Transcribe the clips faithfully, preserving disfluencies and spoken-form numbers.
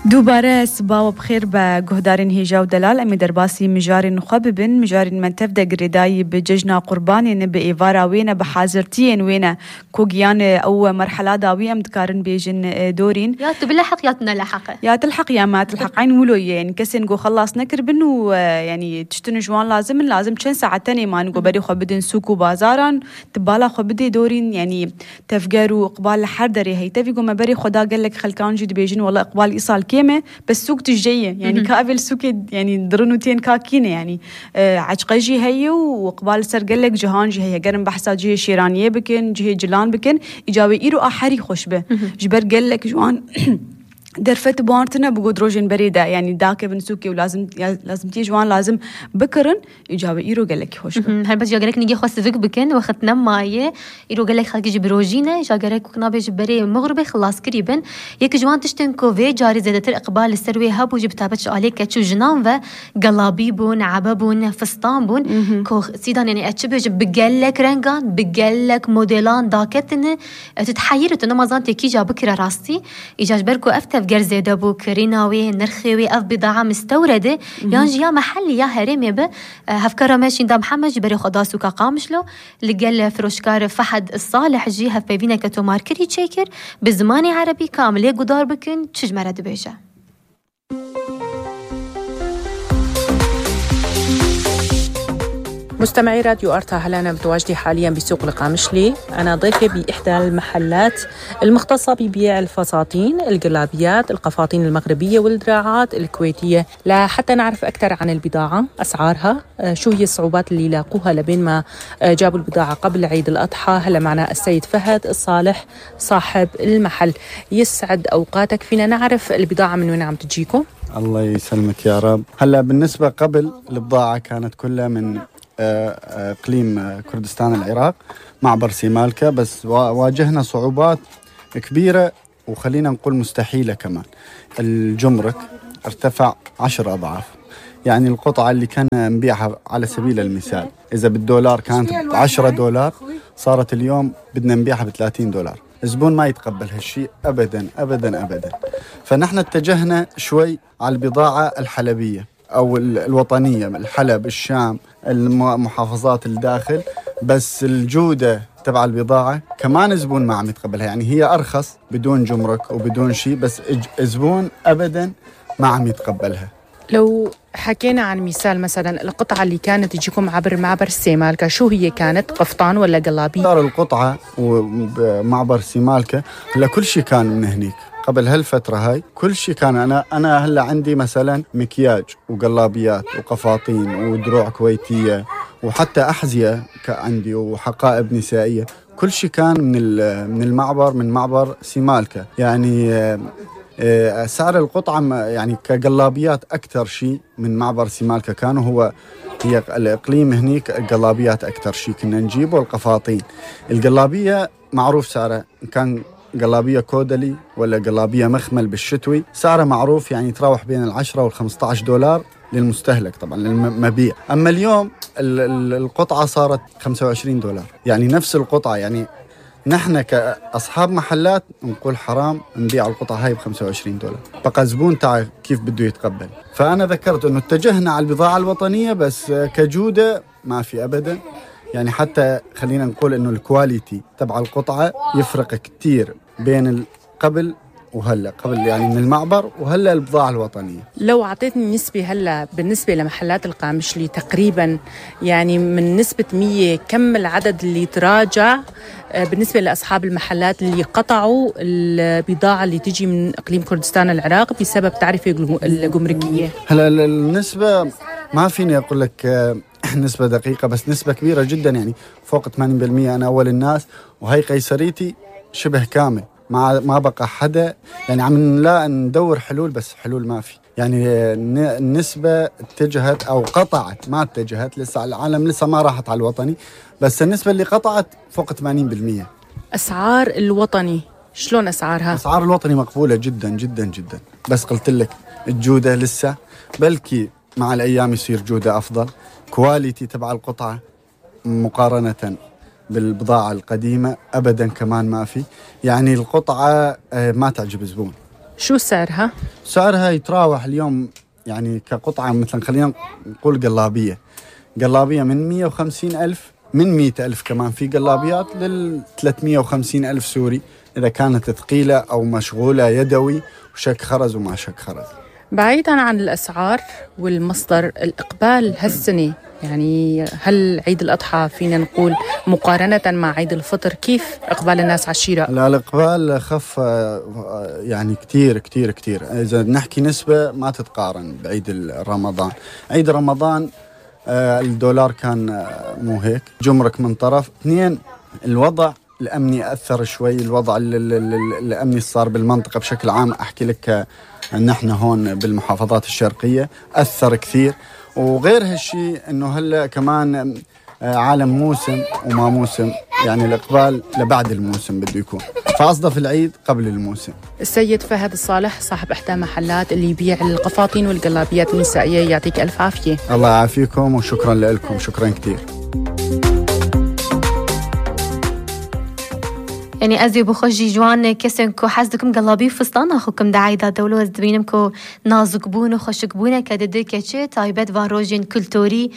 دوباره سباو بخير بجهدارين هيجا ودلال أمي درباسي مجارين خببن مجارين من تفدا قرداي بججنا قربانين بإيفارا وينا بحاضرتين وينا كوغيان أو مرحلة داوية مدكارن بيجن دورين يا تبلحق يا تنلحق يا تلحق يا ما تلحق عين ولو يعني كسن جو خلاص نكربن ويعني تشتن جوان لازم لازم تشن ساعة تاني ما نقو بري خبدن سوكو بازاران تبالا خبدي دورين يعني تفجروا إقبال حردري هي تفيقوا ما بري خدا قال لك خلكان جد بيجن والله إقبال إيصال كيمة بس سوق تجيه يعني كابل سوق يعني درنوتين كاكينة يعني آه عجقجي هي وقبال سر قال لك جهان جي هي قرن بحثا جي شيرانية بكن جي جلان بكن إجابي إيرو آخري خوش به جبر قال لك جوان درفت بوارتنا بقود روجين بريدة يعني داك بنسوكي ولازم لازم تيجي جوان لازم بكرن إجابة إيرو قال لك خوش به هل بس جا قال لك نيجي خاص فيك بكن وقت نم مايه إيرو قال لك خلك جي بروجينه جا قال لك وكنا بيجي بري مغربي خلاص قريبا يك جوان تشتن كوفي جاري زادة إقبال السروي هابو جي بتابتش عليك كتشو جنان وقلابيبون عبابون فستانبون كو سيدان يعني أتشبه جي بقال لك رنجان بقال لك موديلان داكتنه تتحيرت إنه ما زانت كي جا بكرة راستي إجاج بركو أفتف جرزة دبو كريناوي نرخيوي أف بضاعة مستوردة يانجي يا محلي يا هرمي به هفكر ماشي دا محمد جبري خداسو كقامشلو لقال فروشكار فحد الصالح جي هف بيبينا كتو ماركري تشيكر بزماني عربي كامل يقدار بكن تشج مرد بيجا. مستمعي راديو أرتا هلا متواجدة حاليا بسوق القامشلي. أنا ضيفة بإحدى المحلات المختصة ببيع الفساتين الجلابيات القفاطين المغربية والدراعات الكويتية لحتى نعرف أكثر عن البضاعة أسعارها شو هي الصعوبات اللي لاقوها لبين ما جابوا البضاعة قبل عيد الأضحى. هلا معنا السيد فهد الصالح صاحب المحل. يسعد أوقاتك. فينا نعرف البضاعة من وين عم تجيكم؟ الله يسلمك يا رب. هلا بالنسبة قبل البضاعة كانت كلها من إقليم كردستان العراق معبر سيمالكا، بس واجهنا صعوبات كبيرة وخلينا نقول مستحيلة كمان. الجمرك ارتفع عشر أضعاف، يعني القطعة اللي كان نبيعها على سبيل المثال إذا بالدولار كانت عشرة دولار صارت اليوم بدنا نبيعها بثلاثين دولار. الزبون ما يتقبل هالشيء أبدا أبدا أبدا. فنحن اتجهنا شوي على البضاعة الحلبية أو الوطنية من الحلب الشام المحافظات الداخل، بس الجودة تبع البضاعة كمان الزبون ما عم يتقبلها. يعني هي أرخص بدون جمرك وبدون شيء، بس الزبون أبدا ما عم يتقبلها. لو حكينا عن مثال مثلا القطعة اللي كانت تجيكم عبر معبر سيمالكا شو هي كانت؟ قفطان ولا قلابي؟ صار القطعة ومعبر سيمالكا هلا كل شيء كان من هنيك. قبل هالفترة هاي كل شيء كان أنا أنا هلا عندي مثلا مكياج وقلابيات وقفاطين ودروع كويتية وحتى أحذية عندي وحقائب نسائية. كل شيء كان من من المعبر من معبر سيمالكا. يعني سعر القطعة يعني كقلابيات أكثر شيء من معبر سيمالكا كانوا هو هي الإقليم هنيك القلابيات أكثر شيء كنا نجيبه. القفاطين القلابية معروف سعرها كان قلابية كودلي ولا قلابية مخمل بالشتوي سعره معروف، يعني تراوح بين العشرة والخمسة عشر دولار للمستهلك طبعا للمبيع. أما اليوم القطعة صارت خمسة وعشرين دولار، يعني نفس القطعة. يعني نحن كأصحاب محلات نقول حرام نبيع القطعة هاي ب خمسة وعشرين دولار، بقى زبون تاعي كيف بده يتقبل. فأنا ذكرت أنه اتجهنا على البضاعة الوطنية بس كجودة ما في أبدا. يعني حتى خلينا نقول أنه الكواليتي تبع القطعة يفرق كتير بين قبل وهلا، قبل يعني من المعبر وهلا البضاعة الوطنية. لو عطيتني نسبة هلا بالنسبة لمحلات القامشلي تقريبا يعني من نسبة مية كم العدد اللي تراجع بالنسبة لأصحاب المحلات اللي قطعوا البضاعة اللي تجي من إقليم كردستان العراق بسبب تعرفة الجمركية؟ هلا النسبة ما فيني أقول لك نسبة دقيقة، بس نسبة كبيرة جدا، يعني فوق ثمانين بالمئة. أنا أول الناس وهي قيصريتي شبه كامل، ما ما بقى حدا. يعني عم لا ندور حلول بس حلول ما في. يعني النسبة اتجهت أو قطعت، ما اتجهت لسه العالم لسه ما راحت على الوطني، بس النسبة اللي قطعت فوق ثمانين بالمئة. أسعار الوطني شلون أسعارها؟ أسعار الوطني مقبولة جدا جدا جدا، بس قلت لك الجودة لسه، بلكي مع الأيام يصير جودة أفضل. كواليتي تبع القطعة مقارنة بالبضاعة القديمة أبدا كمان ما في. يعني القطعة ما تعجب الزبون، شو سعرها؟ سعرها يتراوح اليوم يعني كقطعة، مثلا خلينا نقول قلابية قلابية من مية وخمسين ألف، من مئة ألف كمان في قلابيات لل ثلاثمية وخمسين ألف سوري إذا كانت ثقيلة أو مشغولة يدوي وشك خرز وما شك خرز. بعيداً عن الأسعار والمصدر، الإقبال هالسنة يعني هل عيد الأضحى فينا نقول مقارنة مع عيد الفطر كيف إقبال الناس على الشراء؟ لا، الإقبال خف يعني كتير كتير كتير. إذا نحكي نسبة ما تتقارن بعيد رمضان. عيد رمضان الدولار كان مو هيك، جمرك من طرف اثنين، الوضع الأمني أثر شوي، الوضع الأمني صار بالمنطقة بشكل عام، أحكي لك نحن هون بالمحافظات الشرقية أثر كثير. وغير هالشي أنه هلأ كمان عالم موسم وما موسم، يعني الإقبال لبعد الموسم بده يكون، فأصدف العيد قبل الموسم. السيد فهد الصالح صاحب إحدى محلات اللي يبيع القفاطين والقلابيات النسائية، يعطيك ألف عافية. الله يعافيكم وشكرا لكم، شكرا كتير. يعني أزي بخوجي جوان كسنكو حزدكم قلابي فستان أخوكم دعايدا دولو أزدبينمكو نازقبون وخشقبون كاددو كاتشي تايبات فاروجين كولتوري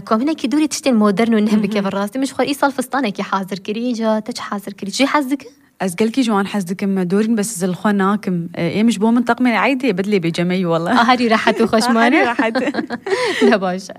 كومنا كي دوري تشتين مودرن ونهم بكي بالراس مش خور إيصال فستانك يا حاضر كري جا تش حاضر كري جي حزدك أزقلكي جوان حزدكم دورين بس زلخوناكم إيه مش بو منطق من عيدي بدلي بجمعي والله. هاري راحت وخشمانة راحت لا باشا.